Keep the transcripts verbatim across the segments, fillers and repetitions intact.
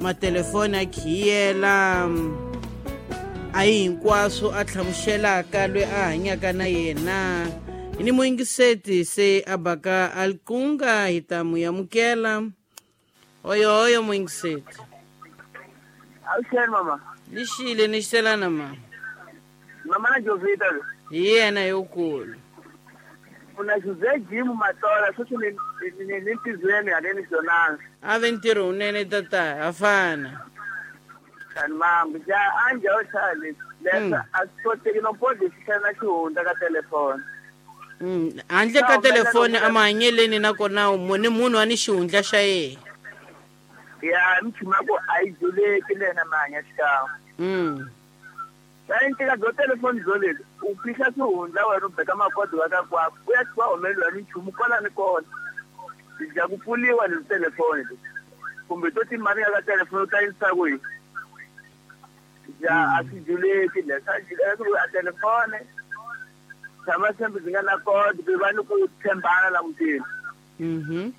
Matelefoni a khiyela a hi hinkwaswo a hlamuselaka loyi a hanyaka na yena. Ni muyingiseti se a baka alkunga hi ta mu amukela. Oyo oyo muyingiseti. Awuxeni mama. Lixile ni xiselana mama. Mama na Jovita. Hi yena yokulu. Una Jose Jim Matola sweswi ni ni ni ntizweni haleni Jonas. A ve ntirho wunene tata a fana. Tani mama ja anja o chale. Lesa a swi koteki no pode xixana xihundla ka telefoni. Mm, handle ka telefoni a mahanyeleni nakona ni munhu a ni xihundla xa yena. Ya mchuma ku a yi dzuleki lena mahanya xikan'we. Mm. Sayentika byo telefoni byo leli u fihla swihundla wena u beka makodi wa ka kwako u ya twa humeliwa ni nchumu kwala ni kona. Bya ku pfuliwa ni telefoni kumbe to timali ka telefoni u ta yisa kwihi. Ja a swi dzuleki leswa a telefoni tshama sembe byi nga na kodi ku va ni ku tshembana la mutini. Mhm.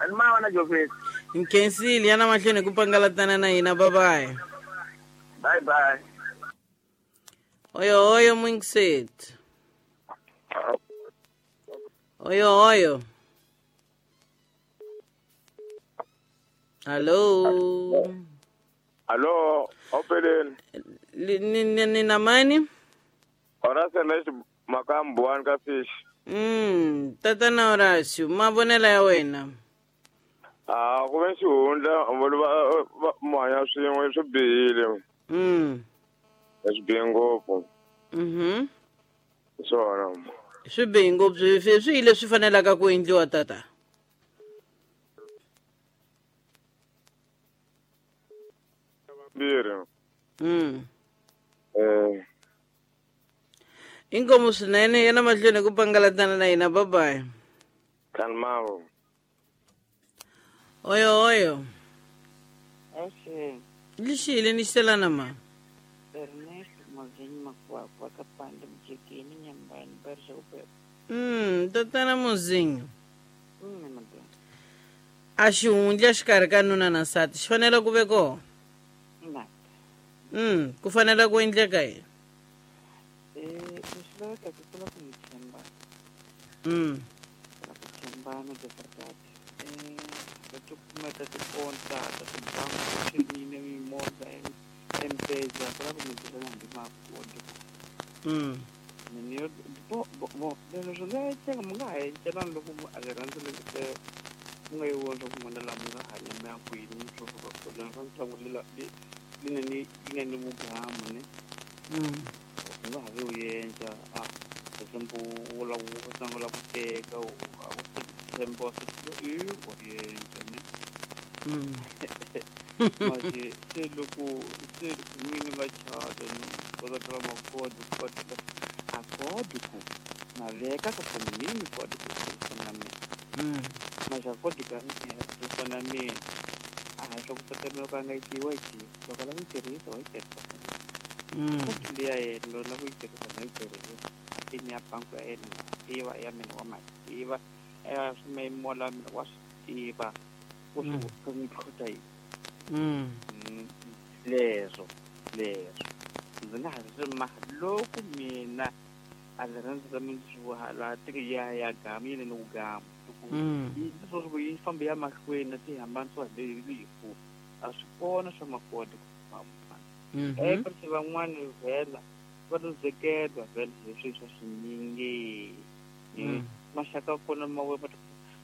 Ani ma wona Jovita. Nkhensile yana mahlweni ku pangalatana na hina. Bye bye. Bye bye. Oyo oyo muyingiseti. Oyo oyo. Hello. Hello, opeleni. Ni ni ni na mani? Horacio Nesh Makambuan ka fish. Mm, tatana Horacio, mavonelo ya wena. Ah, ku ve xihundla va mahanya swin'we swi bihile. Mm. Swi bihe ngopfu. Mhm. Swona. Swi bihe ngopfu swi swi leswi fanelaka ku endliwa tata. Mbirhi. Mm. Eh. Inkomu swinene yena mahlweni ku pangalatana na hina. Bye bye. Kalmavo. Oyo oyo. Axeni. Lixile ni xiselana ma. Ernesto Mozinho Makwakwa kapanda mjekeni nyambani barisha kupepa. Mm, tatana Mozinho. Mm, madam. A xihundla xikarhi ka nuna na nsati xi fanele ku ve kona. Na. Mm, ku fanele ku endleka yini? Eh, leswi lavekaka ku lava ku mi tshemba. Mm. Ku lava ku tshembana de verdade. Eh, va tikumeka tikonta ta tibangi swinene mimovha M-Pesa ku lava ku mi byelana hambi makodi. Mm. Mina yo bo bo bo leswi swi nga endleka mi nga ha encelani loko a rirhandzu leri mu nga yi vona swa ku n'wana laha mi nga hanya mi ya kwini mi swo suka kona swa ntlangu lela li li nga ni li nga ni vugamu ne. Mm. U nga ha vi u endla a example u lava u sungula ku teka a ku tshemba wa swi i wa endla ne. Mm. Manje se loko se n'wini va chata no va ta makodi kodi a kodi ku na veka ka foni mini kodi ku tirhisa na mina. Mm. Manje a kodi ka mina tirhisa na mina a hi swa ku tsakela loko a nga yi tivi wa yi tiva loko a lava ku yi tirhisa wa yi tirhisa. Mm. Kodi liya yena loko lava ku yi tirhisa na yi tirhisa a pin ya bangi ya yena na tiva ya mina wa ma tiva ya swiyimo la mina wa swi tiva ku swi ku n'wi tlhontlha yini. Mm. Leswo leswo ndzi nga ha swi ma loko mina a rirhandzu ra mina swi laha tiki ya ya gamu yi ni ku gamu Mm. yi swo yi famba ya mahlweni ti hambanisiwa hi rifu a swi kona swa makodi ku famba. Mhm. Eh kasi van'wani vhela va luzekela vhela hi swilo swa swinyingi. Mm. Maxaka kona ma we va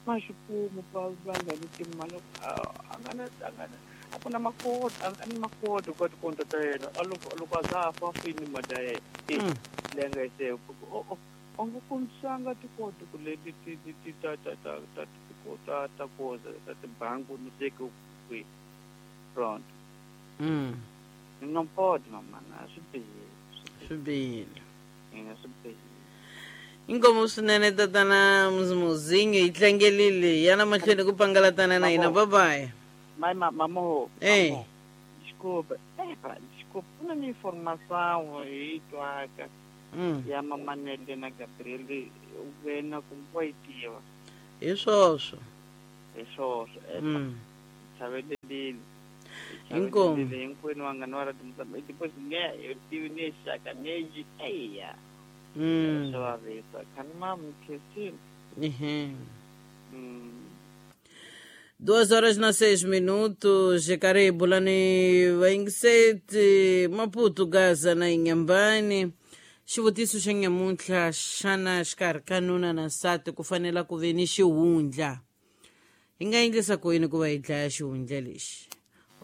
ma xikumu va va nga ni timali a nga na a nga na a ku na makodi a ni makodi ka tikonto ta yena a loko loko a za fa fini mali ya yena e Mm. leyi nga yi se o o a nga kombisanga tikoti ku leti ti ti ti ta ta ta ta ta ta koza ta tibangi ni teke kwihi front. Mm. Ni nga podi mama na swi bihile Swi bihile. ina swi bihile. Inkomu swinene tatana Muzinho yi tlangelile yana mahlweni ku pangalatana na hina. Bye bye. Mai ma mamo. Eh. Desculpa. Eh, pá, desculpa. Ku na ni informação hi twaka Mm. ya Mamanele na Gabriel wena kumbe wa yi tiva. Hi swoswo. Hi swoswo. Eh, Mm. chavelelile. Inkomu. Hinkwenu vanghana va radio Mozambique because nge tivi ni xaka neji eya. Mm. Swa vavisa. Khani mam Christine. Uhum. Mm. Duas horas na seis minutos, karibu lani vaingiseti Maputo, Gaza na Inhambane. Xivutiso xa nyamuntlha xana xikarhi ka nuna na nsati ku fanela ku ve ni xihundla? Hi nga endlisa ku yini ku va hi dlaya xihundla lexi?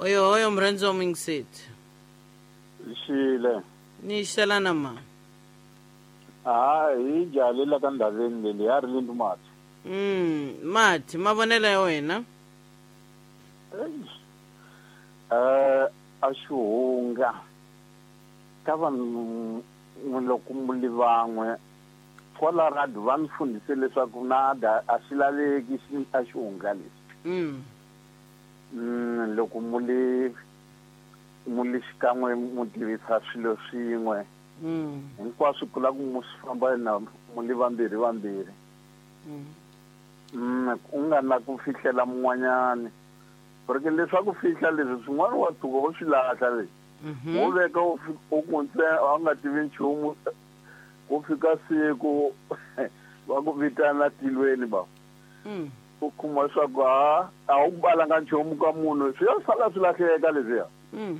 Oyo oyo murhandzi wa muyingiseti. Xile. Ni xelana ma. Ah, hi jalela ka ndhaveni leyi ya ri lindu mati. Mm, mati mavonelo ya wena? Eh, a xihunga ka vanhu loko muli van'we kwala radio va ni fundise leswaku na da a xi laveki a xihunga lexi. Mm. Mm, loko muli muli xikan'we mu tirhisa swilo swin'we. Mm. Hinkwaswo ku lava ku mu swi famba na muli vambirhi vambirhi. Mm. Mm, u nga na ku fihlela mun'wanyani. Porque leswaku fihla leswi swin'wana wa tshuka u swi lahla leswi. Mhm. Wo veka u u ku ntsena a nga tivi nchumu ku fika siku va ku vitana tilweni ba. Mm. U kuma leswaku ha a wu balanga nchumu ka munhu swi ya sala swi lahleka leswiya. Mm.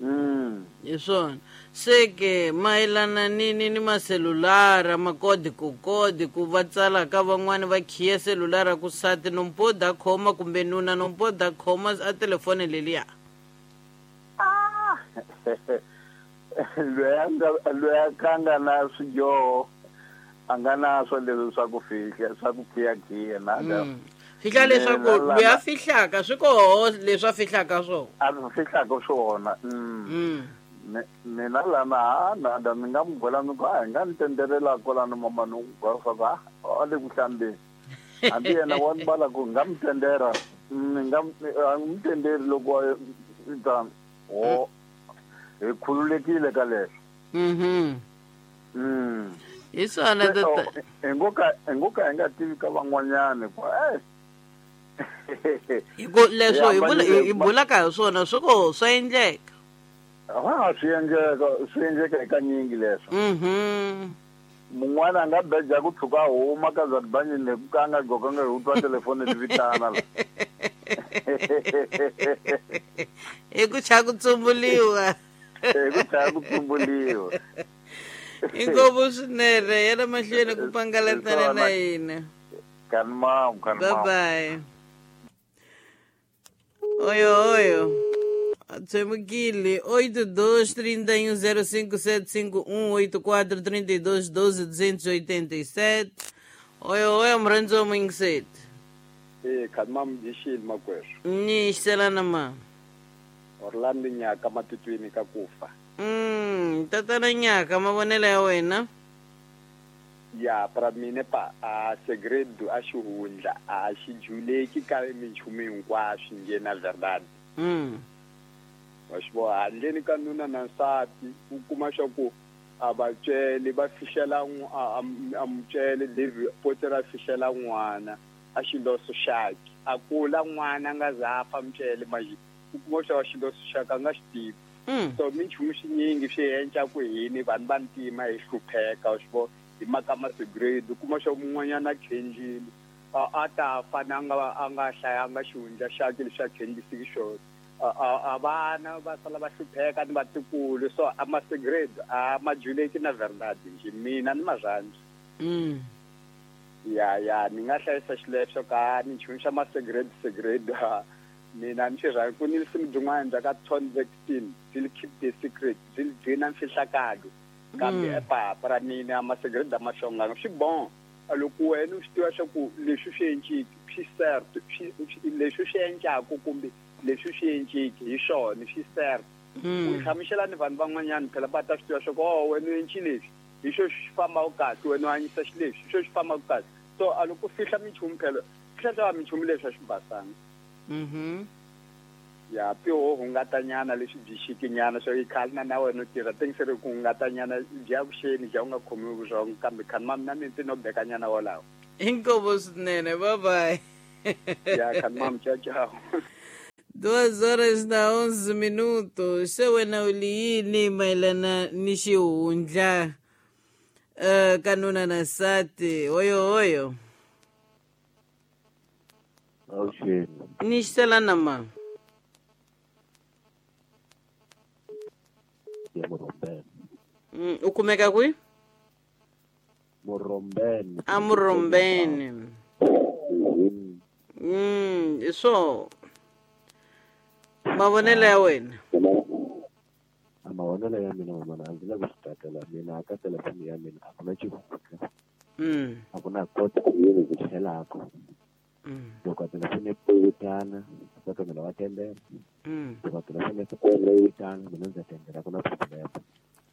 Mm. Hi swona. Se ke mayelana ni ni ni maselulara makodi ku kodi ku va tsala ka van'wani va khiya selulara ku sati nompoda khoma kumbe nuna nompoda khoma a telefoni leliya. Ah! Loyi a nga loyi a ka nga na swidyoho a nga na swo leswi swa ku fihla swa ku khiya-khiya na ka. Mm. Fihla leswaku loyi a fihlaka swi koho leswi a fihlaka swona. A fihlaka swona. Mm. Mm. Mina lana ha nada ni nga mu byela ni ku a hi nga ni tenderela kwalano mama ni ku byela swa ku a a le ku hlambeni. Hambi yena wa ni bala ku nga mu tendera ni nga a mu tenderi loko a ta ho hi khululekile ka leswo. Mhm. Mm. Hi swona tata. Hi ngo ka hi ngo ka hi nga tivi ka van'wanyani ku eh Hi ku leswo hi bula hi bulaka hi swona swi koho swa endleka. Ha swi endleka swi endleka kanyingi leswo. Mhm. Mun'wana a nga beja ku tshuka a huma ka Zadibanyini ku ka a nga gqokanga hi ku twa telefoni ti vitana la. Hi ku chava ku tsumbuliwa. Hi ku chava ku tsumbuliwa. Inkomu swinene ya le mahlweni ku pangalatana na hina. Kanimam, kanimam. Bye bye. Oyo oyo. Tsemukile oito dois trinta e um zero cinco sete cinco um oito quatro trinta e dois doze duzentos e oitenta e sete. Oyo oyo murhandzi wa muyingiseti. Eh, kanimam dixile makwerhu. Ni xelana ma. Orlando Nyaka matitwini ka kufa. Mm, tatana Nyaka mavonelo ya wena? Ya para mina pa a segredo a xihundla a xi juleki ka minchumu hinkwaswo nge na verdade. Mm. Wa xi vona handleni ka nuna na nsati u kuma swa ku a va cele va fihlela a mucele David Potter a fihlela n'wana a xiloso xakhe a kula n'wana a nga za fa mucele manje u kuma swa xiloso xakhe a nga xi tivi. Mm. So minchumu swinyingi swi endla ku hini vanhu va ntima hi hlupheka wa xi vona hi mhaka masegredo kuma swa mun'wanyana a khenjile a ta fa na nga a nga hlayanga xihundla xakhe leswi a khenjisiki xona. A vana va sala va hlupheka ni vatukulu so a masegredo a ma juleki na verdade nje mina ni marhandzu. Mm. Ya ya ni nga hlayisa xileswo ka minchumu xa masegredo segredo mina ni xi rhandza ku ni risimu byin'wana bya ka Ton Vextin byi keep the secret byi gcina mfihlakalo kambe epapa ra mina masegredo ma xonganga swi bon loko wena u swi tiva swa ku leswi swi enciki swi certo leswi swi endlaku kumbe leswi swi enciki hi swona swi certo u hlamusela ni vanhu van'wanyana phela va ta swi tiva swa ku oh wena u enci leswi hi xo xi fambaka kahle wena u hanyisa xileswi hi xo xi fambaka kahle so a loko u fihla minchumu phela fihla minchumu leswi a swi basanga. Mhm. Ya piho hungatanyana leswi byi xikinyana swo i khale na na wena u tirha tingiseri ku hungatanyana bya vuxeni bya u nga khomiwi vurhongo kambe khani ma mina mi no bekanyana wolawo. Inkomu swinene bye bye. Ya khani mam ciao ciao. Duas horas na onze minutos. Se wena u li yini mayelana ni xihundla uh, ka nuna na nsati? Hoyo hoyo. Avuxeni. Ni xisela na ma. Ya Murombeni. Mm, u kumeka kwihi? Murombeni. A Murombeni. Mm, so mavonelo ya wena? A mavonelo ya mina mamana a ndzi lavi ku swi tatela mina ka telefoni ya mina a ku na xihundla. Mm. A ku na kota yini ku tlhelaka. Mm. Loko telefoni yi vitana, nsati wa mina wa tendela. Mm. Loko telefoni yi vitana, mina ndza tendela, a ku na problem.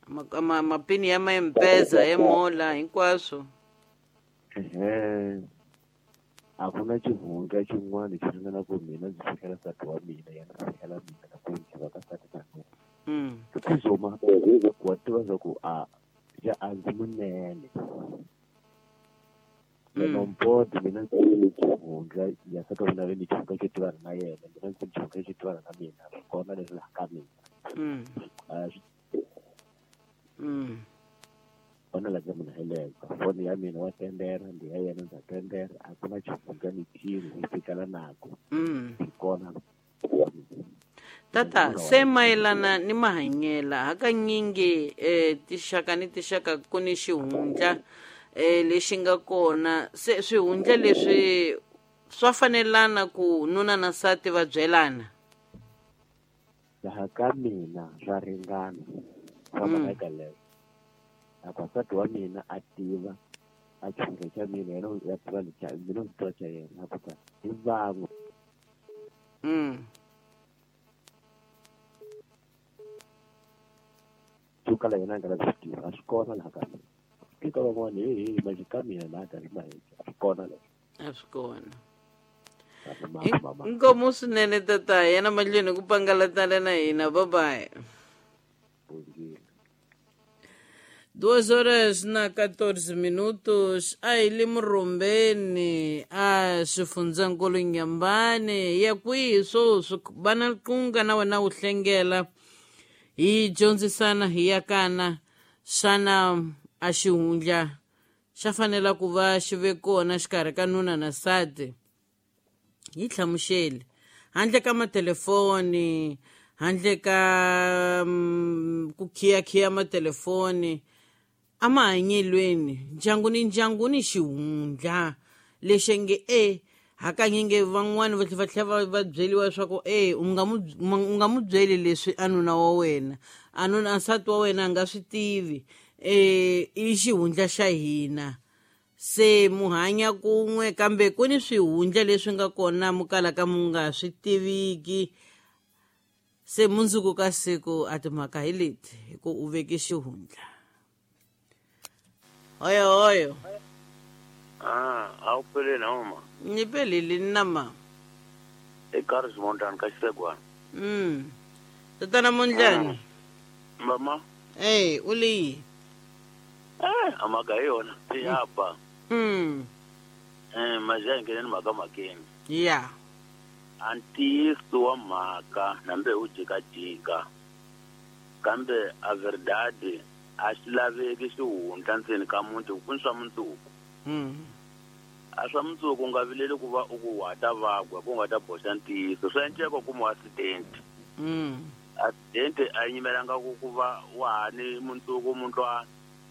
Ma, ma, mapini ya ma-M-Pesa, ya mola, hinkwaswo. Ehe. A ku na xihundla xin'wana xi ringana ku mina ndzi fihlela nsati wa mina, yena a fihlela mina na ku ndzi va ka nsati na mina. Mm. Kuzoma wa tiva swa ku a ya a ndzi munene. Mm. Nompoto mina ndzi ni xihundla ya nsati wa mina ve ni xihundla xo tivana na yena, mina ndzi ni xihundla xo tivana na mina, swi kona leswi laha ka mina. Mm. A swi Mm. kona la ka mina hi leka foni ya mina wa tendera, ndi ya yena ndza tendera, a ku na xihundla ni xin'we hi fikela nako. Mm. Hi kona. Tata, se mayelana ni mahanyela hakanyingi eh, tixaka ni tixaka ku ni xihundla eh, lexi nga kona. Se swihundla leswi swa fanelana ku nuna na nsati va byelana? Laha ka mina swa ringana. Swa Mm. mhaka leyo. Loko nsati wa mina a tiva a xihundla xa mina, yena u ya tiva lexa mina ndzi tiva xa yena, a ku ta hi van'we. Mm. Swo kala yena a nga lavi swi tiva, a swi kona laha ka mina. Eka van'wana he he manje ka mina laha ka ri maheke, a swi kona leswo. A swi kona. A swi mama mama. Inkomu swinene tata, yena mahlweni ku pangalatana na hina. Bye bye. Bongile. Duas horas na catorze minutos. A hi le Murombeni, a xifundzankulu Nyambane. Ya kwihi swoswi? Va na riqingho na wena u hlengela. Hi dyondzisana hi yakana xana a xihundla xa fanela ku va xi ve kona xikarhi ka nuna na nsati? Hi hlamuseli handle ka matelefoni, handle ka mm, ku khiya-khiya matelefoni, emahanyelweni ndyangu ni ndyangu ni xihundla lexi nge e hakanyingi van'wani va tlhela va tlhela va byeriwa leswaku e u nga mu u nga mu byeli leswi a nuna wa wena, a nuna nsati wa wena a nga swi tivi, e i xihundla xa hina. Se mu hanya kun'we kambe ku ni swihundla leswi nga kona mu kalaka mu nga swi tiviki. Se mundzuku ka siku a timhaka hi leti hi ku u veke xihundla. Hoyo hoyo. Ah, a wu peleni a mama. Ni pelile na ma. I Karhi Mondlani ka Xisegwana. Mm. Tatana Mondlani. Mama. Eh, u le. Eh, a mhaka hi yona. Ya ba. Mm. Eh, maja ngene mhaka makeni. Yeah. A ntiyiso wa mhaka nambe u jikajika. Kambe a verdade a xi laveki xihundla ndzeni ka muti ku ni swa mundzuku. Mm. A swa mundzuku u nga vileli ku va u ku wa ta vagwa ku nga ta boxa ntiyiso. Swa endleka ku mu accident. Mm. Accident a yi nyimelanga ku ku va wa ha ni mundzuku mundlwana.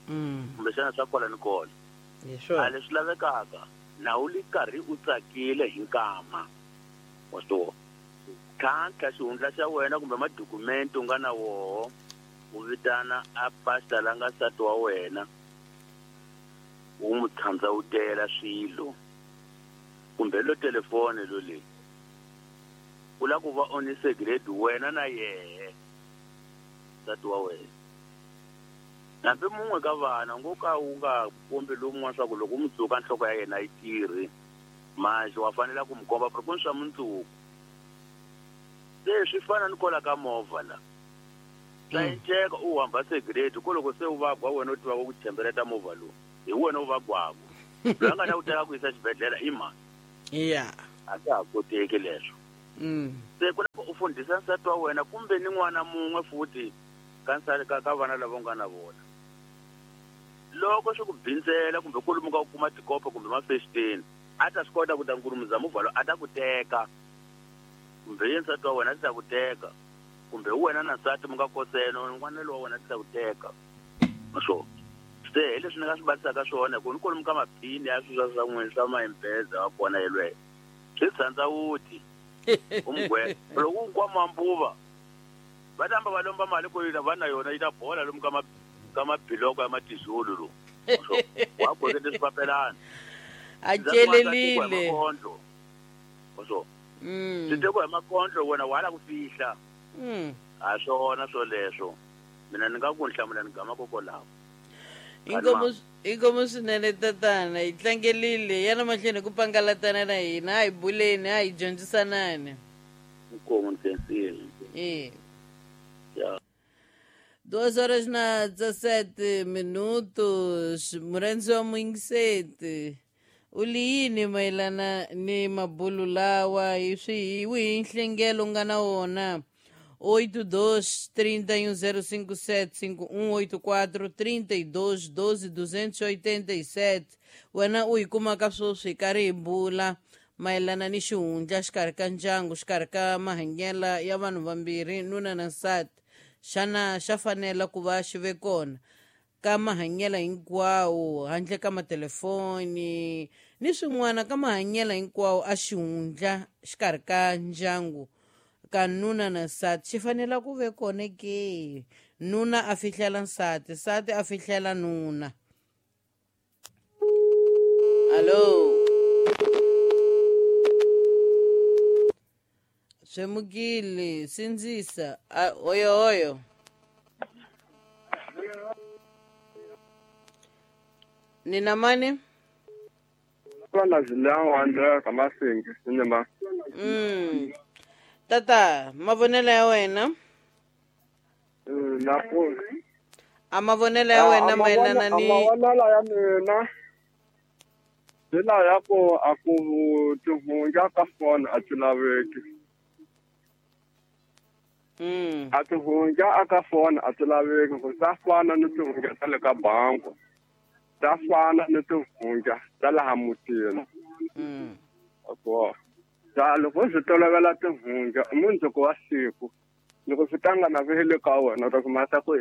Mm. Kumbexana swa kwala ni kona. Hi swona. A leswi lavekaka na u li karhi u tsakile hi nkama. Wa swi vona? Tlhantlha xihundla xa wena kumbe madokumenti u nga na woho, u vitana a pastor la nga nsati wa wena, u n'wi tshandzawutela swilo kumbe lo telefoni lo leyi u lava ku va u ni secret wena na yehe nsati wa wena. Hambi mun'we ka vana ngo ka u nga kombi lowun'wana swa ku loko u mundzuka nhloko ya yena yi tirhi manje wa fanela ku mi komba ku ri ku ni swa mundzuku. Se swi fana ni kwala ka movha la swa enceka u hamba secret ku loko se u vagwa wena u tivaka ku tshembeleta movha lowu hi wena u vagwaku loyi a nga ta ku teka ku yisa xibedhlele i mani? Yeah. A swa ha koteki leswo. Mm. Se ku lava u fundhisa nsati wa wena kumbe ni n'wana mun'we futhi ka nsati ka ka vana lava u nga na vona. Loko swi ku bindzela kumbe kwalomu ka ku kuma tikopo kumbe mafexiteni a ta swi kota ku ta nkurumuza movha lowu a ta ku teka kumbe ye nsati wa wena a ti ta ku teka kumbe wena na nsati mi nga kosela n'wana lowa wena a ti ta ku teka. So se hi leswi ni nga swi batisaka swona ku ni kwalomu ka maphini ya swilo swa n'wina swa ma-M-Pesa wa kona yelweyo swi tsandza wuti umgwe loko u nkwama mbuva va tamba va lomba mali ku va na yona yi ta bola lomu ka ma ka mabiloko ya matizulu lo so wa kwekete swipapelana a celelile so mm swi tekiwa hi makondlo wena wa la ku fihla mm a swona swoleswo mina ni nga ku hlamula ni gama kokolawo. Inkomo inkomo swinene tatana hi tlangelile yana mahlweni ku pangalatana na hina a hi buleni a hi dyondzisanani. Inkomo ni khensile. Eh. Ya. Duas horas na dezassete minutos murendzi wa muyingiseti u li yini mayelana ni mabulu lawa hi swi hi wihi nhlengelo u nga na wona? Oito dois trinta e um zero cinco sete cinco um oito quatro trinta e dois doze duzentos e oitenta e sete. Wena u hi kumaka sweswi hi karhi hi bula mayelana ni xihundla xikarhi ka ndyangu xikarhi ka mahanyelo ya vanhu vambirhi nuna na nsati. Xana xa fanela ku va xi ve kona ka mahanyelo hinkwawo handle ka matelefoni ni swin'wana ka mahanyelo hinkwawo a xihundla xikarhi ka ndyangu ka nuna na nsati xi fanela ku ve kona ke? Nuna a fihlela nsati, nsati a fihlela nuna. Allo, swemukile sindzisa oyo oyo nina mani vana zilawandla ka masingi sinema. Mm. Tata, mavonelo ya wena? Na ku a mavonelo ya wena mayelana ni mavonelo ya mina hi laha ya ku a ku tihundla ka foni a ti laveki. Mm. A tihundla a ka foni a ti laveki ku ta fana ni tihundla ta le ka bangi ta fana ni tihundla ta laha mutini. Mm. Ako ta loko swi tolovela tihundla mundzuku wa siku loko swi tlanga na vihele ka wena u ta kuma ta ku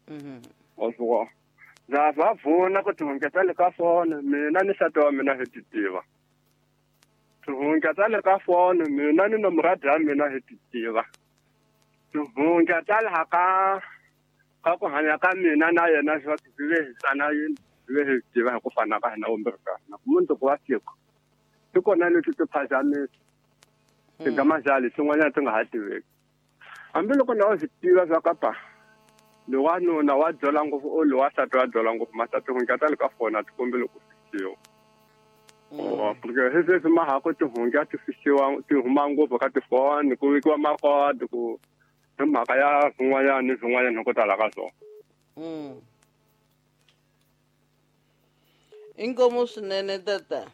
Mhm. wa swi vona ndza va vona ku tihundla ta le ka foni mina ni nsati wa mina hi ti tiva tihundla ta le ka foni mina ni nomoradi ya mina hi ti tiva tihundla ta laha ka ka ku hanya ka mina na yena swa ku swi ve hi tsana yini swi ve hi tiva hi ku fana ka hina vumbirhi ka hina mundzuku wa siku ti kona leti ti phazamisa ti nga mazali swin'wanyana ti nga ha tiveki hambiloko na u swi tiva swa ka pa lowa nuna wa dyola ngopfu o lowa nsati wa dyola ngopfu masa tihundla ta le ka foni a ti kombeli ku fihliwa. Porque hi sweswi ma ha ku tihundla ti fihliwa ti huma ngopfu ka tifoni ku vekiwa makodi ku hi mhaka ya swin'wanyana ni swin'wanyana hi ku tala ka swona. Mm. Inkomo swinene tata.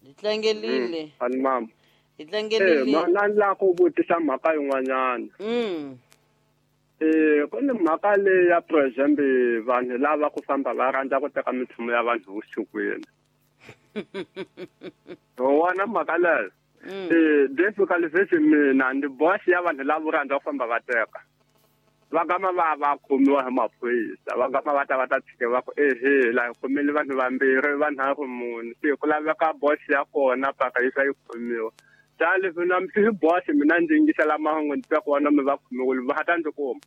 Hi tlangelile. Ani mama. Hi tlangelile. Eh, na la ku vutisa mhaka yin'wanyana. Mm. Eh, ku ni mhaka leyi ya for example vanhu lava ku famba va rhandza ku teka minchumu ya vanhu vusikwini. Wona mhaka leyo. Eh, difficult leswi mina ndi boss ya vanhu lava rhandza ku famba va teka. Va gama va va khomiwa hi maphorisa va gama va ta va ta tshike va ku ehe la hi khomile vanhu vambirhi vanharhu mune se ku laveka boss ya kona paka yi yi khomiwa. Ta leswi na hi boss mina ndzi yingisela mahungu ndzi twa ku vona mi va khomiwile va ta ndzi kuma.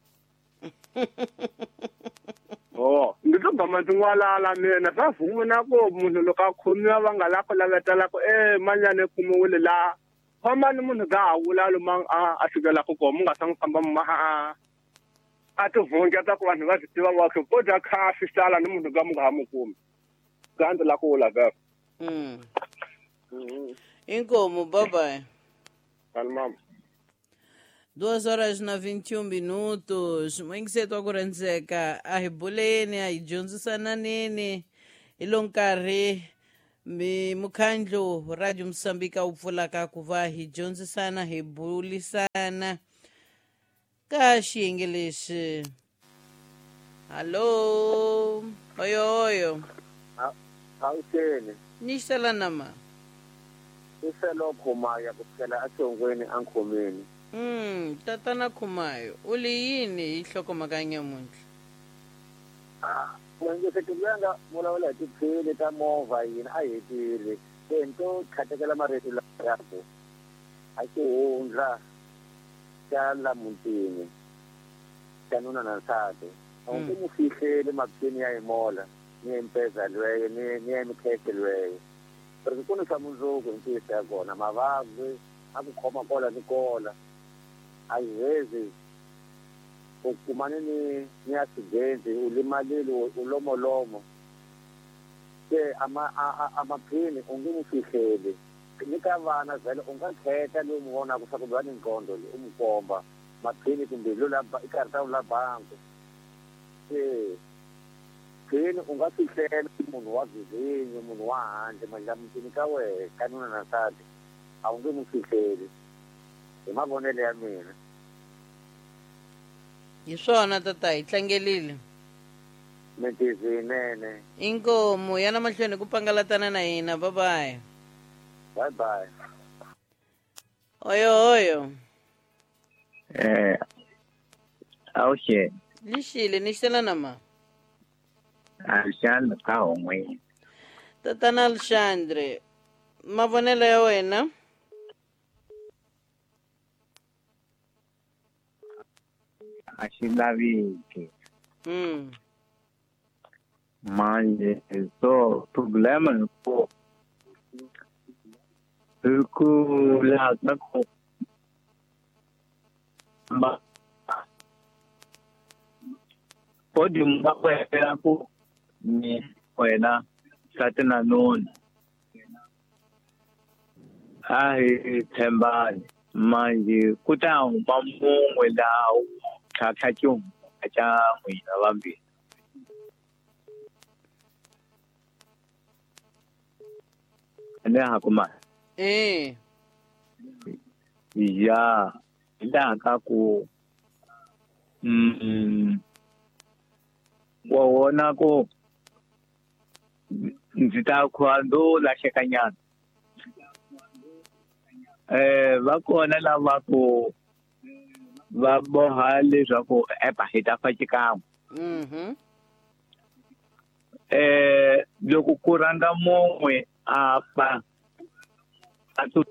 Oh, ndzi to gama ndzi n'walala mina swa vuna ku munhu loko a khomiwa va nga la ku lavetela ku e manyana i khomiwile laha fambani munhu ga ha vula lomu a a fikelaka kona mu nga sa n'wi famba ma a a tihundla ta ku vanhu va swi tiva va ko dya khafi sala ni munhu ga mu nga ha mu kumi ga ndzi la ku vula vhele. Mm. Inkomo, bye bye. Mama. Duas horas na vinte e um minutos. Muyingiseti wa ku rhandzeka a hi buleni a hi dyondzisananeni hi lo nkarhi Mi mukhandlu Radio Msambika wu pfulaka ku va hi dyondzisana hi bulisana ka xiyenge lexi. Hallo, oyo oyo. Awuxeni. Ni xela nama. Iselo Khumayo kusukela eSongweni ankhomeni. Mm, tatana Khumayo, u li yini hi nhlokomhaka ya nyamuntlha? N'wingiseti loyi a nga vulavula hi tiphini ta movha yini a hetile. Se ni to khatekela marito lawa ku a xihundla xa la mutini xa nuna na nsati. A wu nge mu fihleli maphini ya yimola ni ya mpeza lweyo ni ni ya mikhekhe lweyo. Porque ku ni swa mundzuku hi ntiyiso ya kona mavabyi a ku khoma kola ni kola a yi hezi u kumane ni ni accident u limalile u lomolomo se ama a maphini u nge mu fihleli ni ka vana vhele u nga khetha loyi u mu vonaka swa ku va ni nqondo leyi u mu komba maphini kumbe lo la i karhi ta la bangi se phini u nga fihlela munhu wa vizinyo munhu wa handle mandla mutini ka wehe ka nuna na nsati a wu nge mu fihleli hi mavonelo ya mina. Hi swona tata, hi tlangelile. Mintizi yinene. Inkomu yana mahlweni ku pangalatana na hina. Bye bye. Bye bye. Oyo oyo. Eh awuxeni. Lixile ni xela nama. Alexandre ka hongweni. Tatana Alexandre, mavonelo ya wena? A xi laveki. Mm. Manje so problema hi ku hi ku laha ka ku ba podium va kwela ku ni wena nsati na nuna a hi tshembani manje ku ta huma mun'we laha u tlhatlha xihundla xa n'wina vambirhi. Ene ha kuma eh ya hi laha ka ku mm wa vona ku ndzi ta kha ndo lahlekanyana. Eh va kona lava ku va boha leswaku epa hi ta fa xikan'we. Mhm. Eh loko ku rhanga mun'we a fa a tu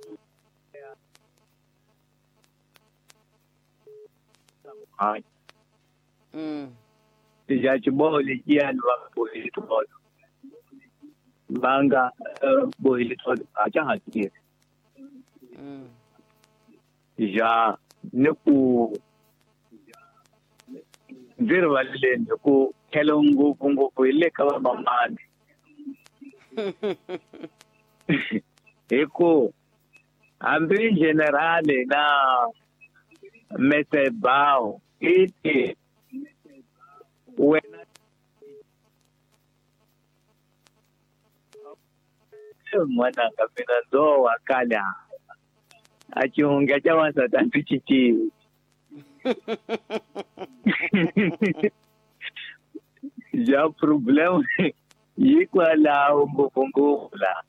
mm. Ya xiboho lexiyani va bohile tolo va nga bohile tolo a xa ha tirhi. Ya ni ku ndzi rivaleleni hi ku tlhelo ngopfungopfu hi le ka vamamani hi ku hambi generale na Mesebao i ti wena n'wananga mina ndzo wa kala a xihundla xa wansati a ndzi xi tivi. Ya problem yi kwalaho ngopfungopfu laha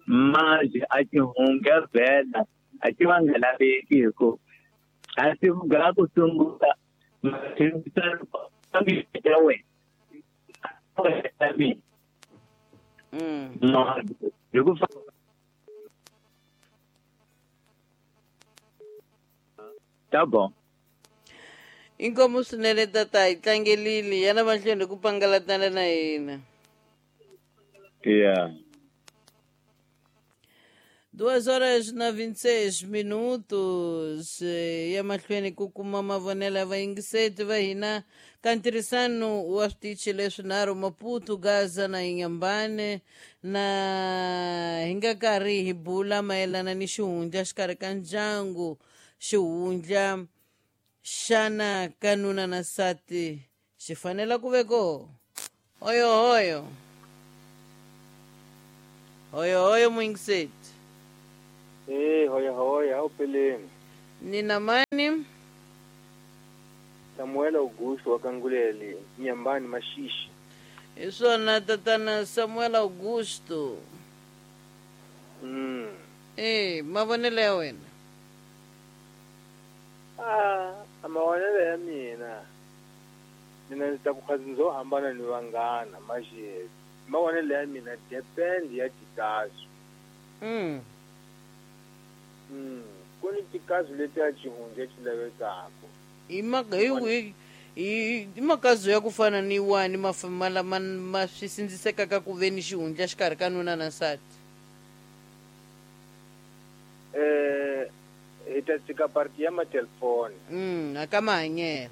manje a xihundla vhela a xi va nga laveki hi ku a xi ga ku sungula ya wena hi ku ta bon. Inkomu swinene tata, hi tlangelile yana mahlweni ku pangalatana na hina. Yeah. Duas horas na vinte e seis minutos ya mahlweni ku kuma mavonelo ya vayingiseti va hina ka ntirhisano wa switichi leswinharhu Maputo, Gaza na Inhambane na hi nga karhi hi bula mayelana ni xihundla xikarhi ka ndyangu xihundla xana ka nuna na nsati xi fanela ku ve koho. Oyo oyo. Hoyo hoyo mwingiseti. Eh, hoya hoya upeleni. Nina mani? Samuel Augusto wakanguleli nyambani mashishi. Isona tatana Samuel Augusto. Mm. Eh, mavonelo ya wena. Ah, mavonelo ya mina. Mina ndzi ta ku khazi ndzo hambana ni vanghana maxi. Mavonelo ya mina depend ya tikazo. Mm. Mm. Ku ni tikazo leti ya xihundla xi lavekaka. I maka hi i makazo ya ku fana ni wani ma lama ma swi sindzisekaka ku ve ni xihundla xikarhi ka nuna na nsati. Eh, hi ta tshika parti ya matelefoni. Mm, aka mahanyelo.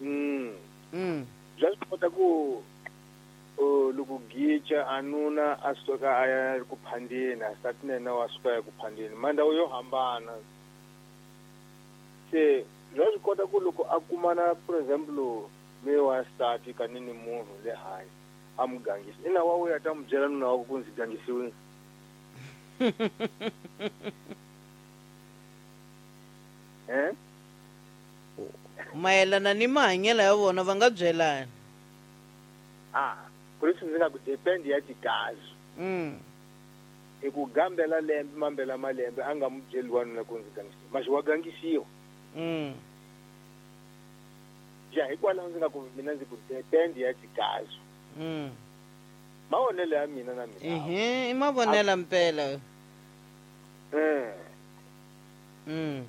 Mm. Mm. Bya swi kota ku loko gicha a nuna a suka a ya ku phandeni, a nsati na yena wa suka a ya ku phandeni, mandhawu yo hambana. Se bya swi kota ku loko a kumana for example me wa nsati ka ni ni munhu le handle a mu gangisa, ina wa wuya ta mu byela nuna wa ku ku ndzi gangisiwile. Eh? Mayelana ni mahanyelo ya vona va nga byelani. Ah, ku leswi ndzi nga ku depend ya tikazi. Mm. Hi ku gambela lembe mambela malembe a nga mu byeli wanuna ku ndzi gangisiwa, maxi wa gangisiwa. Mm. Ja hikwalaho ndzi nga ku mina ndzi ku depend ya tikazi. Mm. Mavonelo ya mina na mina. Ehe, i mavonelo mpela. Eh. Mm.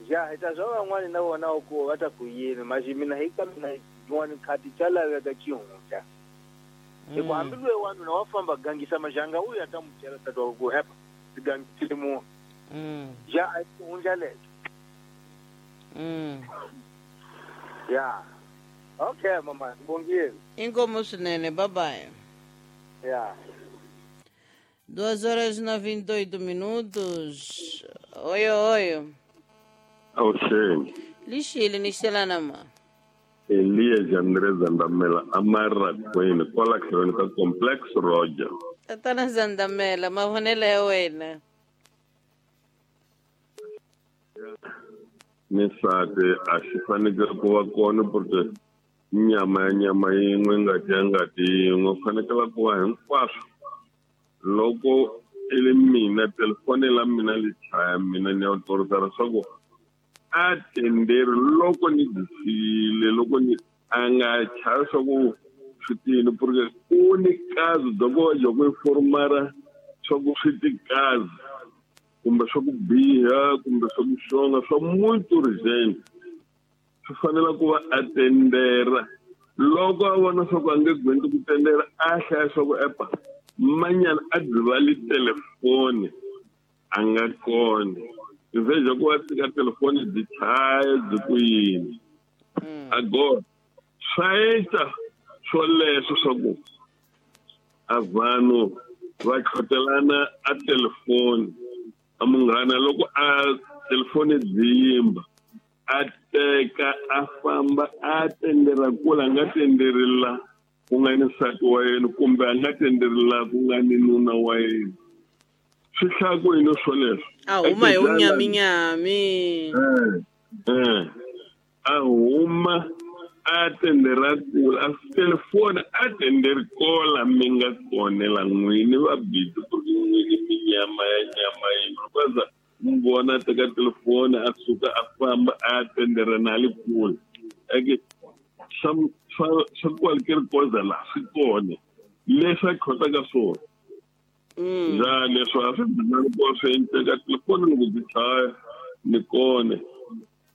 Ja hi ta swa van'wani na vona ku va ta ku yini, maxi mina hi ka mina yin'wani khati xa laveka xihundla. Hi ku hambi loyi wanuna wa famba gangisa maxanga u ya ta mu byela tata wa ku hepa ndzi gangisile munhu. Mm. Ja a hi xihundla lexo. Mm. Ya. Okay mama, ngibongile. Inkomo swinene, bye bye. Ya. Duas horas e noventa e oito minutos. Oi, oi. Awusheni. Lixile nixelana ma. Elias André Zandamela amarra kwini kwala tlhelweni ka Complex Roger. Tatana Zandamela, mavonelo ya wena. Ni nsati a xi fanekele ku va kona porque nyama ya nyama yin'we ngati ya ngati yin'we fanekele ku va hinkwaswo. Loko i ri mina telefoni la mina li chaya mina ni ya autorisa leswaku a tenderi loko ni dyisile loko ni a nga chavi swa ku swi tini porque ku ni kazi bya ku va bya ku informara swa ku swi ti kazi kumbe swa ku biha kumbe swa ku xonga swa muito urgent swi fanele ku va a tendera. Loko a vona swa ku a nge gwendi ku tendera a hlaya swa ku epa manyana a dzivali telefoni a nga kona. Veja ku va tshika telefoni byi chaya byi ku yini. Agora swa endla swoleswo swa ku a vanhu va tlhotelana a telefoni a munghana loko a telefoni byi yimba a teka a famba a tendera kula a nga tenderi la ku nga ni nsati wa yena kumbe a nga tenderi la ku nga ni nuna wa yena. Swi hlaya ku yini swoleswo? A huma hi wunyaminyami. Eh, eh. A huma a tendera kula a telefoni a tenderi kola mi nga konela n'wini va busy ku ri n'wini minyama ya nyama yin'we kwaza mu vona a teka telefoni a suka a famba a tendera na le kule. Eke swa swa swa qualquer coisa la swi kona leswi a khotaka swona. Mm. Ja leswi a swi binani ku swi endleka telefoni loko byi chaya ni kona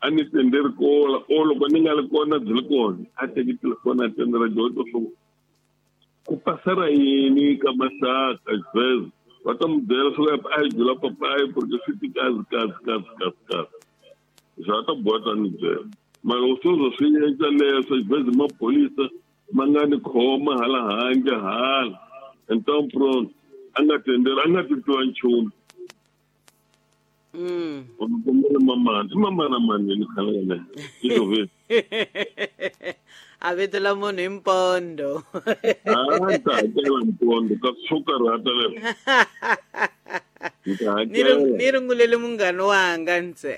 a ni tenderi kola o loko ni nga li kona byi li kona a teki telefoni a tendera dyondzo swo ku pasara yini ka maxaka sweswo va ta mu byela swo a hi byela papayi porque swi ti kazi kazi kazi kazi kazi swa ta boha ta ni byela mara loko sweswo swi endla leswo xibedhlele maphorisa ma nga ni khoma hala handle hala então pronto a nga tenderi a nga titwa nchumu. Mm. Kombela mamana i mamana manini khale ka i A vito la munhu hi mpondo. A ni ta hakela mpondo ka swo karhata leswo. Ni ta Ni ri hakela. Ni rungulele munghana wanga ntse.